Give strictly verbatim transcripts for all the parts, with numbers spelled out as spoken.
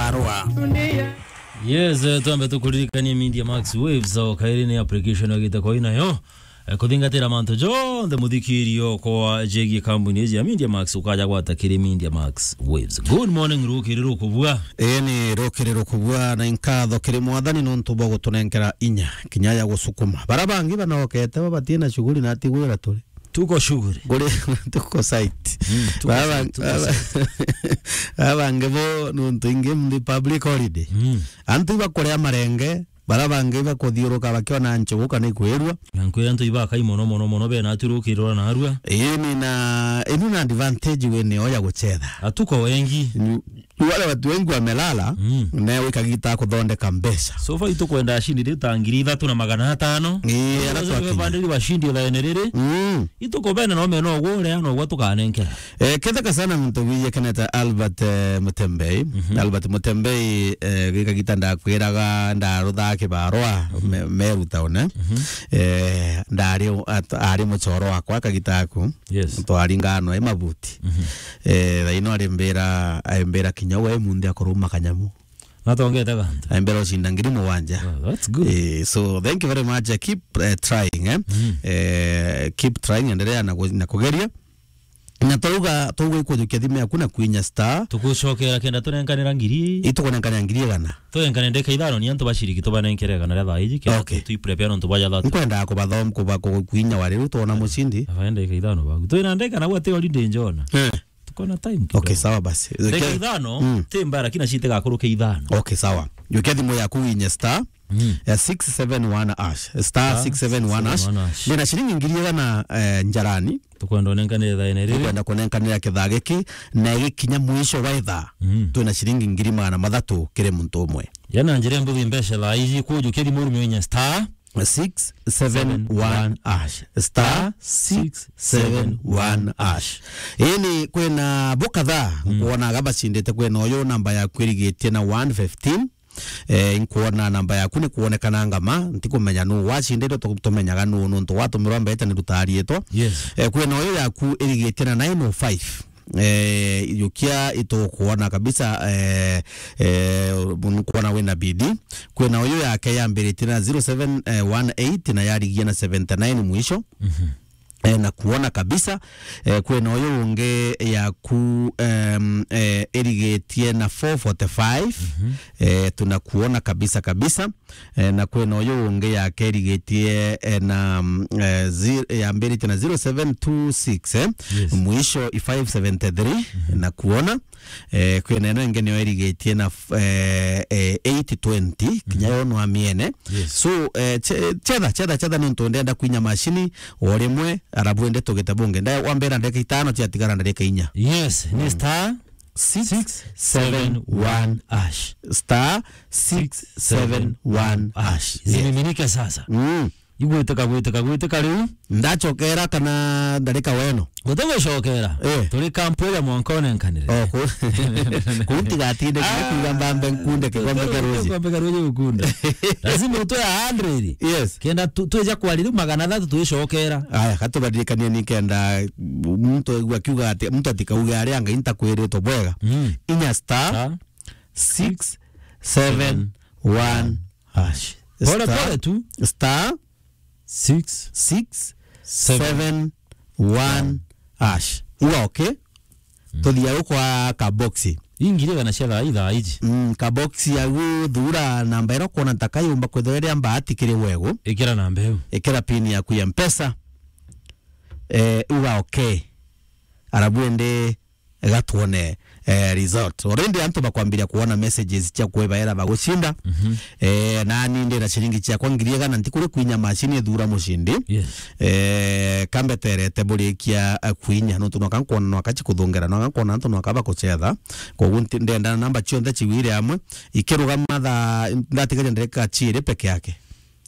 Arua. Yes, eh, twambe tukuririkanie Media Max Waves, o kairi ni application yagite kwa inayo. Eh, kuthingatira mantu jonthe muthikirio kwa jegie kambuni iji ya Media Max, ukaja gwata kiri Media Max Waves. Good morning, rukiri rukubua. Ii ni rukiri rukubua, na inkatho kiri Mwathani nontu bwa gutunenkera inya, kinya ya gusukuma. Bara bangi banokete bo batina shughuli na tigwira turi. Tuko shughuli. Kuri, tuko site. Mm, tuko Baba, site, tuko baba, site. Baba nge bo nontu ingi mthi public holiday. Mm. Antu ibakuria marenge, bara bangi bakuthiuruka bakiona nchugu kana ikwirua. Na nkwira antu ibakai mono, mono, mono, bena aturukirwa na arua. Ii, ni na, inu na advantage we nio ya guchetha. Hatuko wengi. Ni, wale watu wengi wamelala, Mm. nawe ikagita kuthondeka mbeca. So far itukwenda ashindi riu ta ngiri ithatu na magana atano. Ii, ara Sasa twakinya. Bande riu ashindi la ene riri. Mm. Ituko bene no mena ugwo uria no ugwo tukanenkera. Eh, ketheka sana muntu wiye keneta Albert, eh, Mutembei. Mhm. Albert Mutembei, eh, gikagita ndakwiraga ndaruthaa kibarua, Mhm. me-, Meru town, eh. Mhm. Eh, ndari u-, at-, ari muchoro wakwa kagita aku. Yes. Twaringano e mabuti. Mhm. Eh, thaino arimbira, aimbira kinya we munthi akoruma kanyamu. Natongete gantu. Aimbira ucinda ngiri mugwanja. Oh, that's good. Eh, so thank you very much. Eh, keep, eh, trying, eh. Mm. Eh, keep trying, endelea na ku-, na kugeria. Na twauga, twauga ikujukia thimu yaku na kwinya star. Tugucokera kenda tunenkanira ngiri. Itukunenkanira ngiri igana. Tunenkane ndeka ithano ni antu baciriki tubanenkere igana ria thaa iji, kenda Okay. tu-, tui prepare nontu bwa ja thatu. Nkwendaa kubathom-, kuba-, ku-, kwinya wari riu twona mucindi. Abaenda ndeka ithano bagu. Twina ndeka na gwate holiday njona. Eh. Tukona time kidogo. Okay, sawa basi. Ndeka Ke- ithano, Mm. ti mbaya, lakini acite gakuruke ithano. Okay, sawa. Jukia thimu yaku winye star, Mm. ya six seven one hash. Star six seven one hash. Star six seven one hash. Ndina ciringi ngiri igana, eh, njarani. Tukwenda unenkanire thaa ene riri. Tukwenda kunenkanira kithaa giki, na gikinya mwisho wa ithaa. Mm. Twina ciringi ngiri magana mathatu kiri muntu umwe. Yana njira mbuthi mbeca thaa iji kujukia thimu rume winye star six seven one hash. Star six seven one hash. Ini kwina bo kadhaa, Mm. nkuonaga bacindite kwina uyu namba yaku irigitie na one fifteen. Eh, nkuona namba yaku ni kuonekana ngama, ntikumenya nu wacinditwe, tu-, tumenyaga nu, nuntu watumirwa mbeca ni rutariitwa. Yes. Eh, kwina uyu yaku irigitie na nine oh five. Eh, yukia itukuona kabisa, eh, eh, nkuona wina bidii. Kwina uyu yake yambiritie na zero seven one eight na yarigia na seventy nine mwisho. Mhm. Eh, na kuona kabisa, eh, kwina uyu ungi yaku, em, eh, irigitie na four forty-five. Mhm. Eh, tunakuona kabisa kabisa. Eh, na kwina uyu ungi yake irigitie, eh, na, mm, eh, zi-, yambiritie na zero seven two six, eh. Yes. Mwisho i five seventy-three, Mhm. na kuona. Eh, kwina ino ingi niyo irigitie na f-, eh, eh, eight twenty, kinya Mhm. yo no amiene. Yes. So, eh, che-, chetha, chetha, chetha nontu ndenda kwinya macini o rimwe, arabu ende tugite bungi. Nda-, wambira ndagika itano ciatigara ndagika inya. Yes, ni Mm. star six seven one hash. Star six seven one hash. Yes. Zimiminike sasa. Mm. Igwitika, gwitika, gwitika riu. Ndachokera kana ndarika weno? Guti gucokera. Eh. Turi kampu ya mwanka unenkanire. Oh, ku-, kuu ntigatinde kinya kuuga mbambe nkunde kikombe kia ruji. Kikombe kia ruji ukunda. Lazima utwe a hundred. Yes. Kenda tu-, twija kwari riu magana athatu twicokera. Aya, katubaririkanie ni kenda muntu aigua akiuga ati, muntu atikauge aria Ngai ntakwiritwe bwega. Mm. Inya star Star six seven one hash. Pole Star, pole tu. Star six seven one hash. Uga okay. Mm. Tuthia gukwa kaboxi. Ingire kana cia thaa ithaa iji. Mm, kaboxi yagu thura namba ira kuona ntaka yumba kwithirwa iria mbahati kiri wegu. Ikira namba iu. Ikira pin yaku ya Mpesa. Eh, uga okay. Arabu ende gatwone, eh, result. Already antu bakwambiria kuona messages cia kwibaera bagucinda. Mhm. Eh, nani ndina ciringi ciakwa ngiri igana ntikuri kwinya macini ithura mucindi. Yes. Eh, kambeterete burikia, eh, kwinya. Nontu nwaka nkwona nwaka cikuthungera, nwaka nkwona antu nwaka bakucetha. Koguo nti-, ndenda namba cionthe cigwire amwe. Ikirugama thaa, ndatigaria ndarika ciiri peke yake.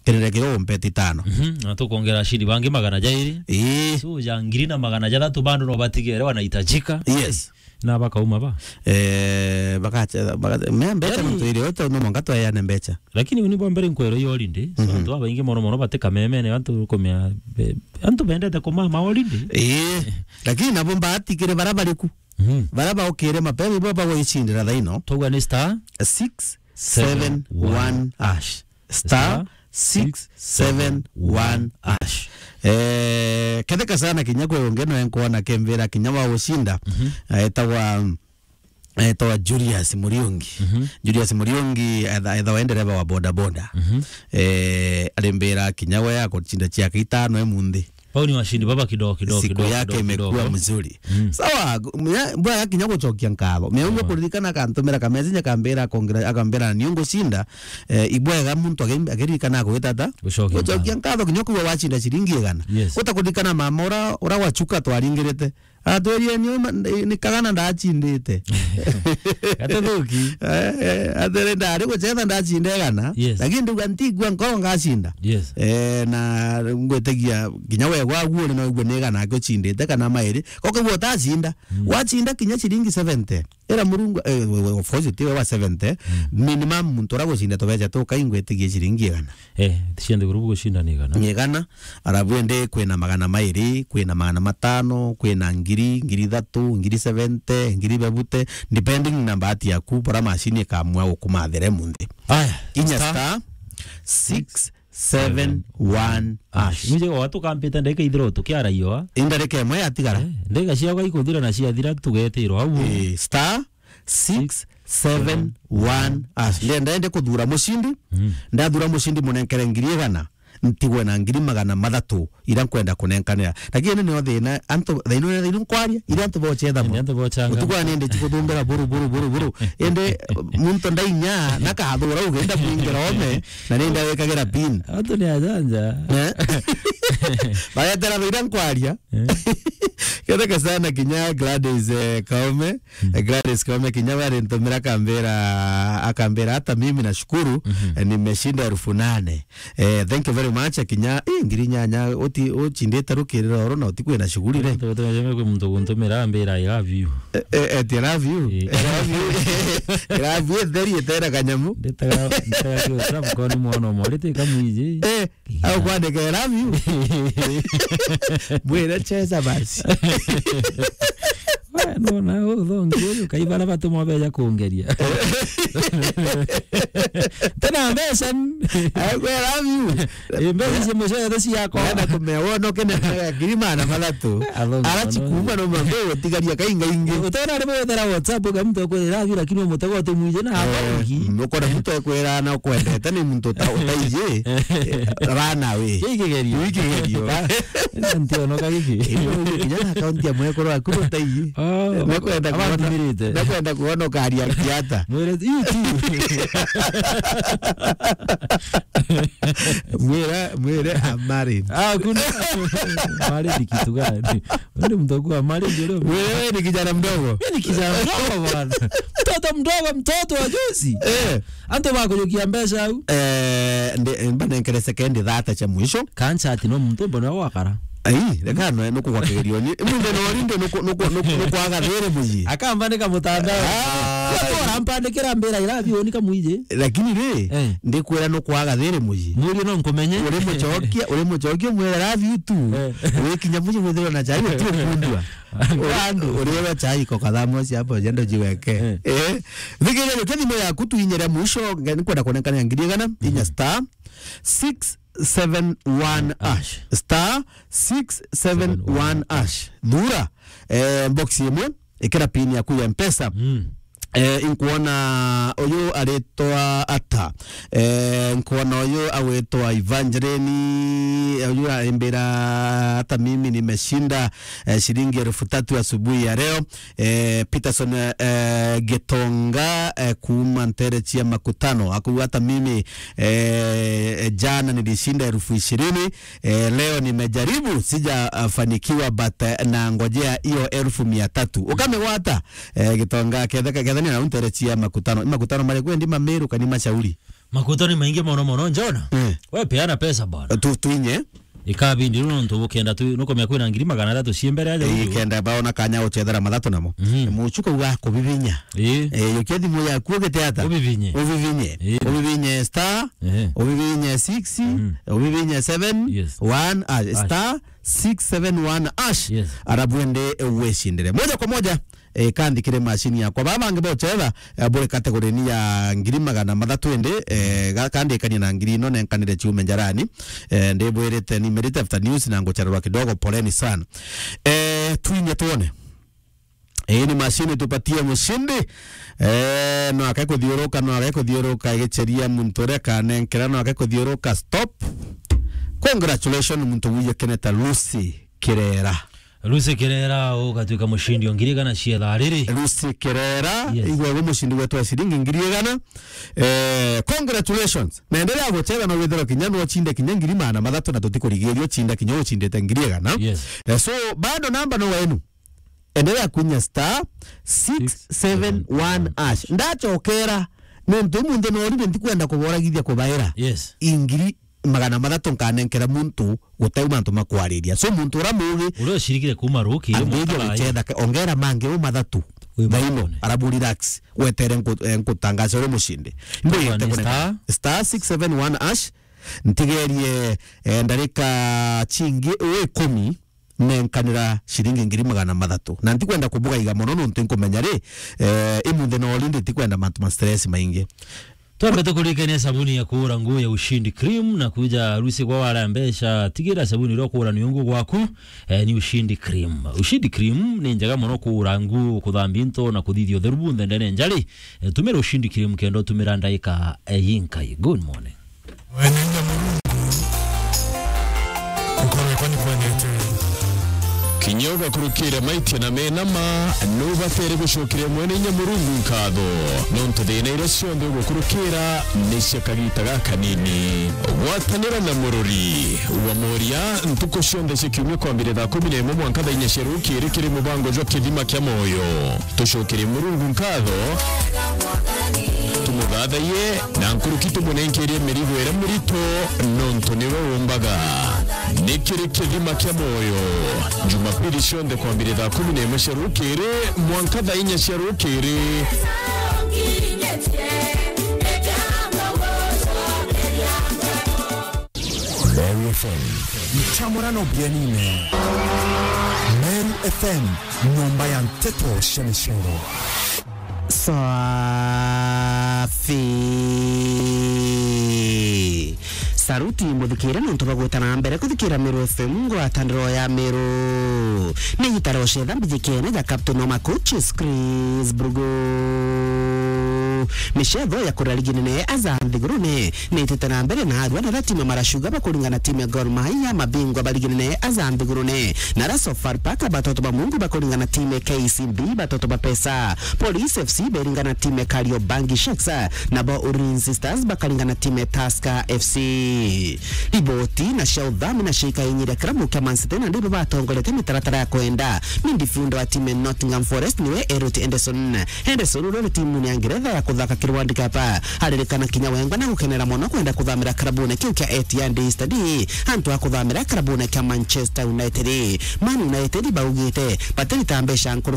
Kirire kiria umpete itano. Mhm, na tukwongera ashindi bangi magana jairi. Ii. So, ja ngiri na magana jathatu bado no batigere wanahitajika. Yes. Na bakauma ba? Eh, bakache-, baka-, me mbecha. Yani, muntu iri ote no mwanka tweane mbecha. Lakini uni bwa mbere nkwero yo holiday. So, mhm, antu babaingi mono mono batika memene, antu kumia, be-, antu bendete kumama holiday. Ii. Lakini nabo mbatikire bara bariku. Mhm. Baria baukire mapema, ibo bagwicindira thaino. Twauga ni star six seven one hash. Star six seven one hash. Eh, ketheka sana kinya kwi ungi no enkwona kembira kinya wa gucinda. Mhm. Etagwa, etagwa Julius Muriungi. Mhm. Julius Muriungi etha-, ethawa e ndereva wa bodaboda. Mhm. Eh, arimbira kinya we agucinda ciake itano emunthi. Bau ni washindi baba kidogo, kidogo, siku kidogo, yake kidogo, imekuwa kidogo mzuri. Mm. Sawa, gu-, mya-, bwega kinya gucokia nkatho. Mia uguo kuririkana akantumira ka message akambira akongera, akambira ni ungucinda, eh, ibwega muntu agi-, akiririkana agwita ata? Gucokia nkatho. Gucokia nkatho kinya kuwa wacinda ciringi igana. Yes. Utakuririkana mama ura, ura wachuka twaringirite. Atwirie ni uma, ni, ni kagana ndacindite. Gatathuki. Eh, eh, atwire ndari gucetha ndacinda igana. Yes. Lakini ndauga ntigua nkoro ngacinda. Yes. Eh, na ngwitigia kinya we gwaguo ni noigua ni igana aki ucindite kana mairi. Kokagua utacinda. Mm. Wacinda kinya ciringi seventy. Ira Murungu, eh, we, we, of course, ti we wa seventy. Mm. Minimum muntu ura gucinda tubeca tukai ngwitigie ciringi igana. Eh, ti cia nthiguru bugucinda ni igana. Ni igana. Arabu ende kwina magana mairi, kwina magana matano, kwina ngiri, ngiri ithatu, ngiri seventy, ngiri bebute, depending na bahati yaku, bora machine ikamua gukumathira munthi. Aya, inya star six seven one hash. Muje wa tukampita ndagika ithiro tukiaraioa. Indarika imwe yatigara. Eh, ndagika ciao ikuthira na ciathira tugetirwa au. Eh, star six seven one hash. Ndenda ende kuthura mucindi. Mm. Ndathura mucindi munenkere ngiri igana. Ntigwe na ngiri magana mathatu ira nkwenda kunenkanira. Lakini ni nio thina, antu, thaino, thaino nkwaria, ira antu bocetha mo. Antu bocanga. Utuku wa nende chikuthumbira buru, buru, buru, buru. Ende, muntu ndainya, nakathura ugenda mwingira ome, na nenda wekagira pin. Antu ni ajanja. Eh? Bagetera ira nkwaria. Eh. Ketheka sana kinya Gladys, eh, Kaume. Mm. Eh, Gladys Kaume kinya we arintumira akambira, akambira, "Hata mimi nashukuru, mhm, eh, nimeshinda elfu nane." Eh, thank you very much, kinya, eh, ngiri nyanya, uti-, uchindite rukirira oro na utikwina shughuli re. Tutumejeme kwi muntu guntumira ambira, "I love you." Eh, eh, eti, "I love you." Eh. I love you. I love you, theri itera kanyamu. Nditaga, nditaga kiu, sababu kwa ni mwana mwarite kamwiji. Eh, au kwandika, "I love you." Mwire, "Cheza basi." We, nona, uthongi uyu, kai bara batuma beja kungeria. Tena mbeca. Au, "I love you." Eh, mbeca cia mucere ciakwa. Wenda kumea, wona ukene na ngiri magana mathatu. Athongi. Ara mono. Chikuma no mambe utigaria kainga ingi. Utona ari bwethera WhatsApp, uga muntu akwira, "I love you," lakini umutego utumwije na athongi. Mm, ukona muntu ekwira na ukwendete ni muntu uta-, utaiji, eh, rana we. Giki kigerio. Giki kigerio. Na ntionoka giki. Ino kinya na account ya mwekuru waku utaiji. Oh, nekwenda kuona, abathimirite. Nekwenda kuona ukaria kiata. Mwire, "You too." Mwira, mwire, "I'm married." Ah, kuna. Married kitu gani? Wewe ni mtu akuwa married, ule. Wewe ni kijana mdogo. Mimi ni kijana mdogo bwana. Mtoto mdogo, mtoto wa juzi. Eh. Antu bakujukia mbeca au. Eh, nde, mbanenkere sekendi thate cia mwisho. Kancha ati no muntu mbona wakara. Ai, reka no, nuku kwa kigerio ni. Munde no rinde nuku, nuku, nuku, nuku agathire muji. Akambandika mutandao. Ah. Bora mpandikira mbira ira bioni kamwije. Lakini ri, eh, ndikwira nuku agathire muji. Murio no nkumenye. Uri muchokia, uri muchokia mwira love you too. Eh. Wikinya muji withirwa na chai uti ukundua. Andu. Uri, uri wa chai ko kathamu cia hapo jendo jiweke. Eh. Eh. Thigiria rio kia thimu yaku tuinyire mwisho, nge-, nikwenda kuonekana ngiri igana, mhm, inya star six seven one hash. Star six seven one hash. Thura, eh, box imwe, ikira pin yaku ya Mpesa. Mm. Eh, inkuona uyu aritwa ata? Eh, nkuona uyu agwitwa Evangeline, uyu aimbira, "Hata mimi nimeshinda, eh, shilingi elfu tatu asubuhi ya leo." Eh, Peterson, eh, Gitonga, eh, kuuma ntere cia Makutano. Akuuga, "Hata mimi, eh, jana nilishinda elfu ishirini, eh, leo nimejaribu, sijafanikiwa, but, eh, nangojea hiyo elfu mia tatu." Ukamigwata, eh, Gitonga, ketheka, kethania na ntere cia Makutano. Makutano mari kwendi Mamiru kani Mashauri? Makutano ni maingi mono mono, Njona. Eh. We peana pesa bwana. Tu-, tuinye. Ikabindi riu nontu bukenda tu, nukumenya kwina ngiri magana athatu cie mbere aja. Ii, uju. Kenda baona kanya guchethera mathatu namo. Mhm. Muchuka uga kubibinya. Ii. Eh, yukia thimu yaku ugite ata? Ubivinye. Ubivinye. Ii. Ubivinye star, ehe, ubivinye six, mhm, ubivinye seven, yes, one, ah, hash, star six seven one hash. Yes. Arabu ende wicindire. Moja kwa moja, eh, kanthikire machine yakwa. Baba bangi bochetha, eh, buri category ni ya ngiri magana mathatu indi, eh, ga-, kandikania na ngiri ino nenkanire ciume njarani. Eh, ndibwirite ni Merita After News na nguchererwa kidogo, poleni sana. Eh, twinye tuone. Ii ni machine tupatie mushindi. Eh, no ake kuthiuruka, no ake kuthiuruka igicheria muntu uria kanenkera, no ake kuthiuruka. Stop. Congratulations muntu wiye keneta Lucy Kirera. Lucy Kirera, ugatwika mushindi o ngiri igana cia thaa riri. Lucy Kirera, yes, igwe gu mushindi wetu wa ciringi ngiri igana. Eh, congratulations. Na endelea gucheza na withero kinya no chinde kinya ngiri magana mathatu na tutikurigiria uchinde kinya uchindite ngiri igana. Yes. Eh, so, bado namba no wenu. Endelea kuinya star six seven one hash. Ndachokera, nontu imunthi norire ntikwenda kuboragithia kubaira. Yes. Ingiri magana mathatu nkanenkera muntu guteu mantu makwariria. So muntu ura mugi uria ucirikire kuma ruki, ambiriria gucetha ke-, ongera mangi u mathatu. Wi thaino, mathatu. Arabu relax, wetere nku-, eh, nkutangaza uri mushindi. Mbiririe star six seven one hash, ntigerie, eh, ndarika chingi u ikumi, nenkanira ciringi ngiri magana mathatu. Na ntikwenda kubugaiga mono nontu nkumenya ri, eh, imunthi no rindi tikwenda mantu ma stress maingi. Twambe tukurikania sabuni ya kuura nguo ya Ushindi Cream na kuja harusi kwa wara mbeca, tigira sabuni iria ukuura niungu gwaku, eh, ni Ushindi Cream. Ushindi Cream ni njega mono kuura nguo, kuthambia into na kuthithia utheru bunthe ndene njari. Eh, tumira Ushindi Cream kenda utumira ndaika, eh, yinkai. Good morning. Mwene inya Murungu, nkoro yakwa ni kwendete. Kinya ugakurukira maitia na mena ma, nubatere gucokeria Mwene inya Murungu nkatho, nontu thina iria cionthe ugukurukira ni cia kagita gakanini. Gwatanira na murori wa Moria ntuku cionthe cia kiumia kwambire thaa kumi na imwe mwanka thaa inya cia rukiri kiri mubango jwa Kithima kia Moyo. Tucokerie Murungu nkatho, tumuthathaiye, na nkuruki tumunenkerie mirigo iria mirito, nontu niwe umbaga. Ni kiri Kithima kia Moyo, Jumapili cionthe kwambire thaa kumi na imwe cia rukiri mwanka thaa inya cia rukiri. Meru F M. Nchamurano bienine. Meru F M, nyomba ya nteto cia micoro. Safi. Saruti muthikire nontu bwa gwita na mbere kuthikira Meru F M, ngwataniro ya Meru. Ni gitaro cetha mbijikene ja Captain Oma Coaches Chris Brugo. Micetho ya kuria ligi nene aja nthigurune niitite na mbere, na arua na aria timu ya Maracuga bakuringana timu ya Gor Mahia, mabingwa ba ligi nene aja nthigurune, na aria Sofapaka batoto ba Mungu bakuringana timu ya K C B batoto ba Pesa. Police F C beringana timu ya Kariobangi Sharks, nabo Ulinzi Stars bakaringana timu ya Tusker F C. Riboti na cia uthami na ciikainyiria kirabu kia Man City, na ndibo batongoretie mitaratara ya kwenda midfielder wa timu ya Nottingham Forest niwe Elliot Henderson. Henderson uria uri timuni ya Ngeretha ya kuthaka kiri World Cup, aririkana kinya wengwa na gukenera mono kwenda kuthamira kirabune kiu kia Etihad Stadium, antu a kuthamira kirabune kia Manchester United. Man United baugite batirita mbeca nkuruki